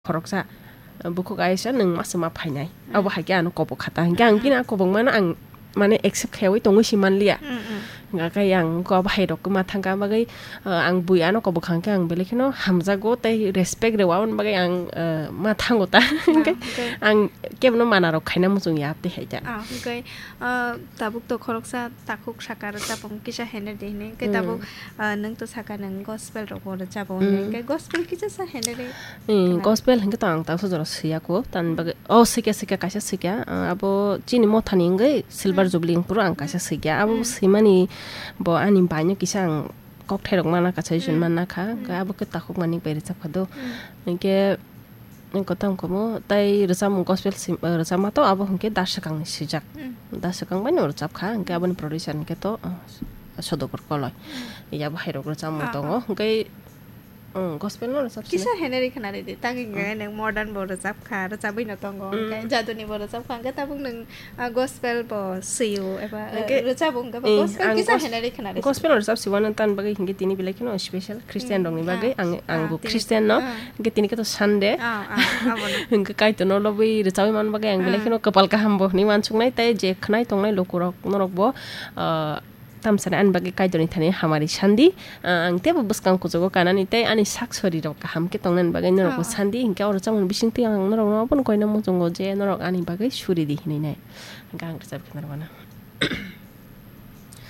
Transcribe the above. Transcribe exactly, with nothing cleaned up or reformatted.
khoroksa, bukhuk aisa nwng masa ma phainai. Abo hai khe ano kobok khata. Hinkhe ang bini a kobok mano ang mane accept khaiwi tongwi si manliya. Hingkha khe ang ko bahai rok ma thangka bagwi, uh, ang bui ano kobok hangkhe ang belai kheno hamjago tei respect rw aboni bagwi ang, uh, ma thango ta. Hingkhe ang kebono mana rok khaina muchung ya tei hai ta. Ah, hingkhe, uh, tabuk to khoroksa takhuk saka rwchapung kisa henry di hinwi. Hingkhe tabuk, uh, nwng to saka nwng gospel rok bo rwchabo hinwi. Hingkhe gospel kisa sa henry. Gospel hingkhe to ang taksa jora swiya ko. Tan bagwi, oh, swikya, swikya, kaisa swikya. Uh, abo chini mothani wngwi silver jubilee wngphuru ang kaisa swikya. Abo swimani bo ani baino kisa ang kokthai rok mana kha, suggestion mana kha. Hingkhe abo khe takhuk mani bai rwchapkha do. Hingkhe Ang kotang komo, tai rwchapmung gospel sim-, eh, rwchapma to abo hwnkhe da swkangni swijak. Da swkang bai no rwchap kha, hwnkhe aboni producer hwnkhe to, eh, Sodokor Koloi. Yabo hairok rwchapmung tongo, hwnkhe, mm, gospel no rwchap sini. Kisa henry khna ridi, tang hwnkhe nwng modern bo rwchap kha, rwchabwi no tongo, hwnkhe jaduni bo rwchap kha, hwnkhe tabuk nwng, ah, gospel bo swiyo, eba, eh, rwchabo hwnkhe bo gospel kisa henry khna ridi. Gospel rwchap siwano tan bagwi hwnkhe tini belai kheno special Christian rokni bagwi, ang, ang bo Christian no. Hingke tini khe to Sunday. Hingke Kaitor no lobwi rwchabwi man bagwi ang belai kheno kwpal kaham bo hinwi wansuknai tei je khnai tongnai lukurok norok bo, ah, tamsani ani bagwi Kaitor ni thani hamari sandi. Ah, ang teibo bwskang kuchugo kanani tei ani sak sori rok kaham khe tongnani bagwi norok bo sandi. Hingke o rwchapmung bisingtwi ang norok no abono koina muchungo je norok ani bagwi suri di hinwi nai. Hingke ang rwchap khe norok no.